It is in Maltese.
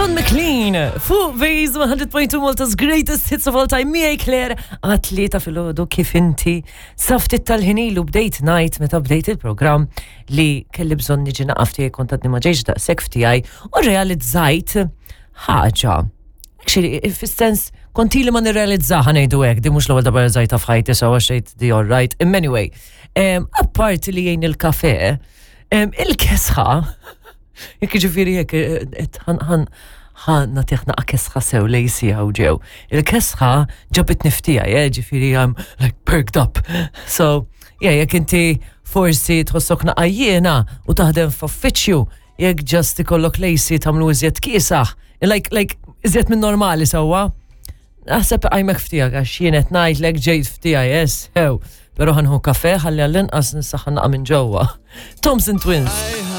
Don McLean, fuq Vase 100.2 Malta's Greatest Hits of All Time, miegħi Claire, għat-tlieta filgħodu kif inti. Saftit tal-ħinilu bdejt ngħid meta bdejt il-programm li kelli bżonn niġi naqaf tiegħi kont għadni ma ġejx daqshekk ftiegħi u realizzajt ħaġa. Actually, fis-sens kont ili ma nirrealizzaha ngħidu hekk, di mhux l-ewwel darba realizzajtha f'ħajti sewa xejn di all right. Imma anyway, apparti li jgħin il-kafe, il-kesħa Jekk ġifieri jekk eh, ħan ħan nagħtih naqa' kesħa sew lejsi hawn ġew. Il-kesħa ġabit niftija, eh, ġifieri I'm like perked up. So, yeah, jekk inti forsi tħossok naqa' jiena u taħdem f'uffiċċju, jekk ġast ikollok lejsi tagħmlu iżjed kiesaħ, like, like, iżjed minn normali sewwa. Naħseb għajmek ftijak għax jien qed ngħidlek ġejt ftija yes, hew. Però ħanħu kafe ħalli għall-inqas nisaħħan naqa' minn ġewwa. Thompson Twins.